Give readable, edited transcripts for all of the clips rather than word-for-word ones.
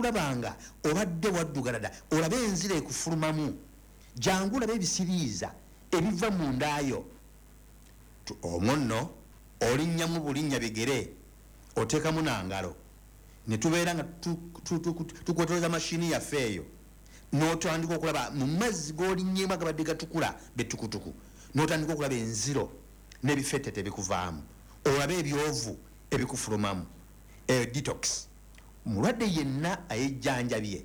Kulaba nga obadde waddugala dda, olabe enzira ekufulumamu. Jangu olabe ebisiriiza ebiva mu ndaayo. Omwo nno olinnyamu bulinnya bigere, oteekamu nangalo, ne tubeera nga tukwetoleza mashini yaffe eyo, n'otandika okulaba mu mazzi g'olinnyemu agabadde gatukula betukutuku, n'otandika okulaba enziro n'ebifetete ebikuvaamu, olabe ebyovu ebikufulumamu. Eyo detox. Omulwadde yenna ayejjanjabye,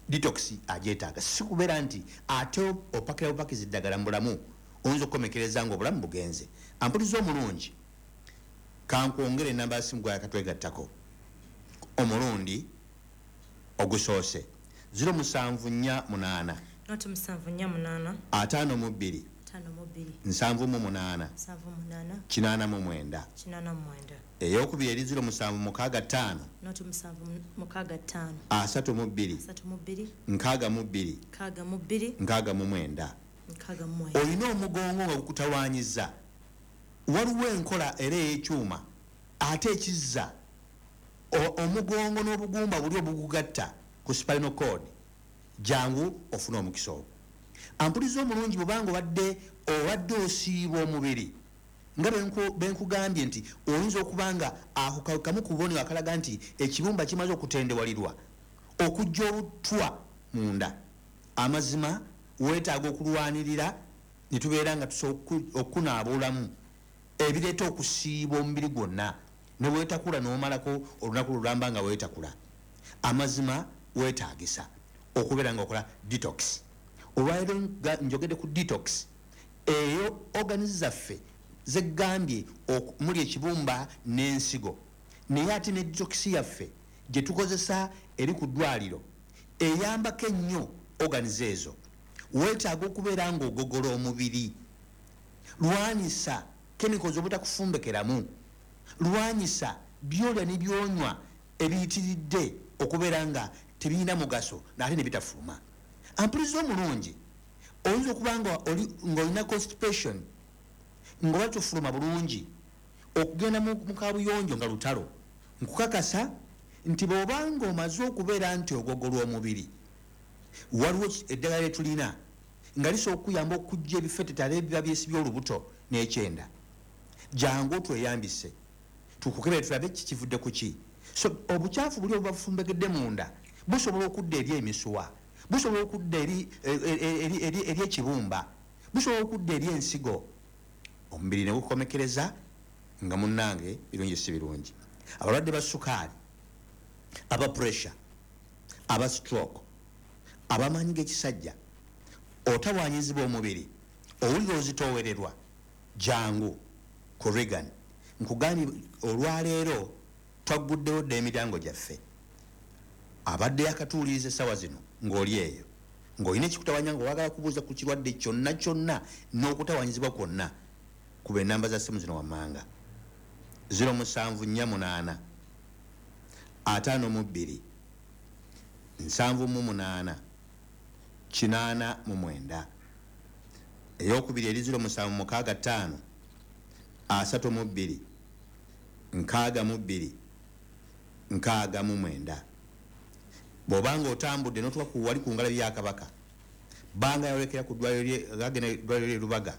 detox agyetaaga. Si kubeera nti ate opakira bupakizi ddagala mu bulamu, oyinza okukomekereza nga obulamu bugenze. Ampuliza omulungi, kankwongere enamba ya simu gwayakatwegattako omulundi ogusoose: 0748 0748 52 52 78 78 89. 89. Eyokubiri eri 0765 0765 32 32 62 62 69. 69. Olina omugongo nga gukutawanyiza, waliwo enkola era ey'ekyuma ate ekizza omugongo n'obugumba buli obugugatta ku spinal cord. Jangu ofune omukisa ogwo. Ampuliza omulungi, bwobanga obadde osiiba omubiri nga benkugambye nti oyinza okuba nga ako kamu ku bubonero akalaga nti ekibumba kimaze okutendewalirwa okujja obutwa munda. Amazima, weetaaga okulwanirira ne tubeera nga tusobola okunaaba obulamu ebireeta okusiiba omubiri gwonna, ne weetakula n'omalako olunaku lulamba nga weetakula. Amazima, weetaagisa okubeera nga okola detox. Olwaleero njogedde ku detox eyo organs zaffe zegambye muli ekibumba n'ensigo, naye ate ne detox yaffe gye tukozesa eri ku ddwaliro eyambako ennyo organs ezo. Weetaaga okubeera ng'ogogola omubiri. Lwanyisa chemicals obutakufumbekeramu, lwanyisa byolya ne byonywa ebiyitiridde okubeera nga tebirina mugaso nate ne bitafuluma. Ampuliza omulungi, oyinza okuba nga ng'olina constipation, ng'oba tofuluma bulungi, okugenda mu kabuyonjo nga lutalo. Nkukakasa nti bw'obanga omaze okubeera nti ogogolwa omubiri, waliwo eddagala lyetulina nga lisobola okukuyamba okujja ebifetetale ebiba byesibye olubuto n'ekyenda. Jangu otweyambise, tukukebere, tulabe ki kivudde ku ki. So obukyafu buli obuba bufumbegedde munda busobola okudda eri emisuwa, busobola okudda eri ekibumba, busobola okudda eri ensigo, omubiri ne gukomekereza nga munnange birungi si birungi. Abalwadde ba sukaali, aba pressure, aba stroke, abamaanyi g'ekisajja, otawanyizibwa omubiri, owulira ozitoowererwa, jangu ku Regan. Nkugambye, olwaleero twagguddewo dda emiryango gyaffe. Abadde yakatuwuliriza essaawa zino ng'oli eyo ng'olina ekikutawanya, nga oyagala kubuuza ku kirwadde kyonna kyonna n'okutawanyizibwa kwonna, kuba enamba za simu zino wammanga: 0748 52 78 89. Eyokubiri eri 0765 32 62 69. Bw'obanga otambudde n'otuuka ku wali ku ngalabi ya Kabaka, banga yolekera ku ddwaliro ly'e Lubaga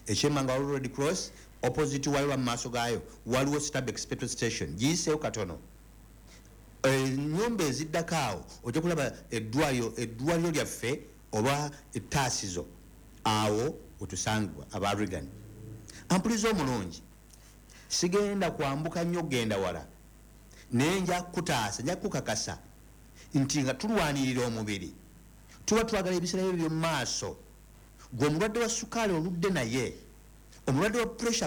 ekyemanga, waliwo Red Cross opposite wayo, mu maaso gaayo waliwo Stabex petrol station. Giyiseeyo katono, ennyumba eziddako awo ojja kulaba eddwaliro lyaffe oba ettaasizo. Awo wetusangibwa aba Regan. Ampuliza omulungi, sigenda kwambuka nnyo kugenda wala, naye nja kukutaasa, nja kukakasa nti nga tulwanirira omubiri tuba twagala ebiseera byo by'omu maaso. Gwe omulwadde wa sukaali oludde, naye omulwadde wa pressure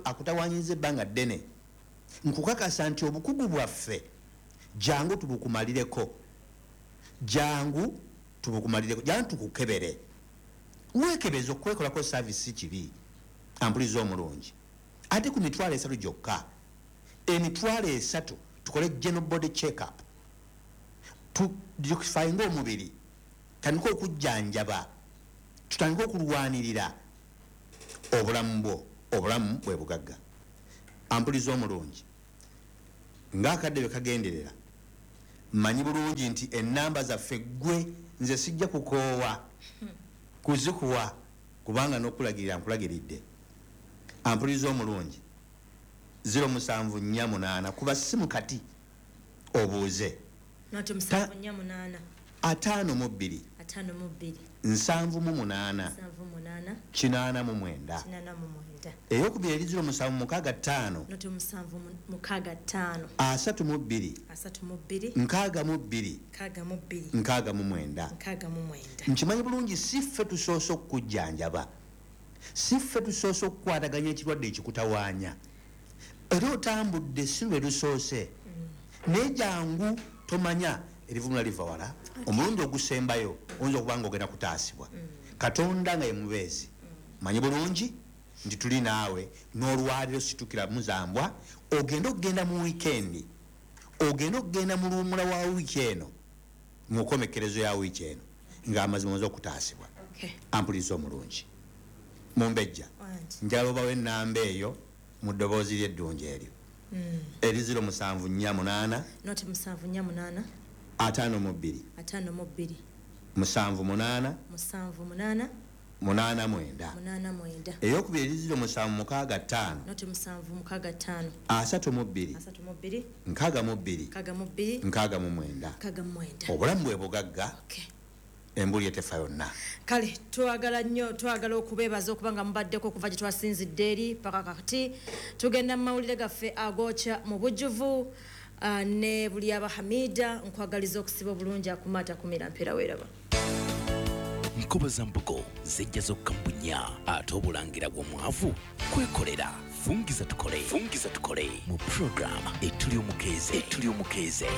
akutawanyiza ebbanga ddene, nkukakasa nti obukugu bwaffe jangu tubukumalireko, jangu tubukumalireko, jangu tukukebere, weekebeze. Okwekolako service si kibi. Ampuliza omulungi, ate ku 30,000 gyokka, 30,000, tukole general body check up, tudetoxifyinga omubiri, tandika okujjanjaba, tutandike okulwanirira obulamu bwo. Obulamu bwe bugagga. Ampuliza omulungi, ngaakadde bwe kagenderera, Mmanyi bulungi nti ennamba zaffe ggwe nze sijja kukoowa kuzikuwa, kubanga n'okulagirira nkulagiridde. Ampuliriza omulungi, 0748, kuba simu kati obuuze. Noti 748. 52. 52. 78. 78. 89. 89. Eyokubiri eri 0765. Noti 765. 32. 32. 62. 62. 69. 69. Nkimanyi bulungi si ffe tusoose okukujjanjaba, si ffe tusoose okukwataganya ekirwadde ekikutawaanya, era otambudde si lwe lusoose, naye jangu tomanya erivumula liva wala. Omulundi ogusembayo oyinza okuba nga ogenda kutaasibwa. Katonda nga ye mubeezi. Manyi bulungi nti tuli naawe n'olwaliro situkira muzambwa. Ogenda okugenda mu wiikendi, ogenda okugenda mu luwumula wa wiiki eno, mu nkomekerezo ya wiiki eno, ng'amazima omaze okutaasibwa. Ampuliza omulungi mumbejja, njagala obawo ennamba eyo mu ddoboozi ly'eddungi eryo eri 0748. Noti 748. 52. 52. 78. 78. 89. 89. Eyokubiri eri 0765. Noti 765. 32. 32. 62. 62. 69. 69. Obulamu bwe bugagga, embuli etefa yonna. Kale twagala nnyo, twagala okubeebaza okuba nga mubaddeko okuva gye twasinzidde eri paka kati. Tugenda mu mawulire gaffe agokya mu bujjuvu ne buli aba Hamida. Nkwagaliza okusiba obulungi, akumaata kumira mpeera weeraba. Nkoba za mbugo zijja zokka mu bunnya, ate obulangira bw'omwavu kwekolera. Fungiza tukole, fungiza tukole mu program Etuli Omukeeze, Etuli Omukeeze.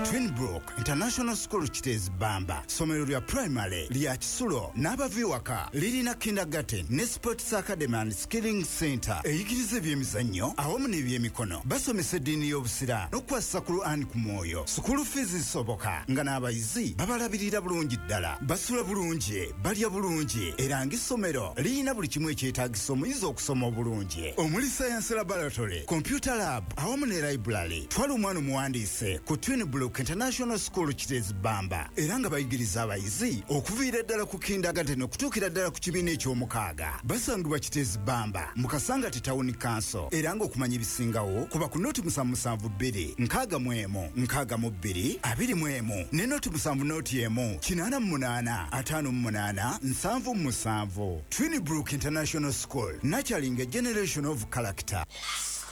Twinbrook International School Kiteezi Bamba, ssomero lya primary lya kisulo n'abava ewaka, lirina kindergarten ne sports academy and skilling center eyigiriza ebyemizannyo awamu n'ebyemikono. Basomesa eddiini y'Obusiraamu n'okukwasisa Quran ku mwoyo. Sukulu fees zisoboka nga n'abayizi babalabirira bulungi ddala, basula bulungi, balya bulungi, era ng'essomero lirina buli kimu ekyetaagisa omuyizi okusoma obulungi, omuli science laboratory, computer lab awamu ne library. Twala omwana omuwandiise ku Twinbrook International School Kiteezi Bamba, era nga bayigiriza abayizi okuviira ddala ku kindergarten okutuukira ddala ku kibiina eky'omukaaga. Basangibwa Kiteezi Bamba mu Kasangati Town Council, era ng'okumanya ebisingawo kuba ku 072 61 62 21 ne 07 01 88 58 77. Twinbrook International School, nurturing a generation of character.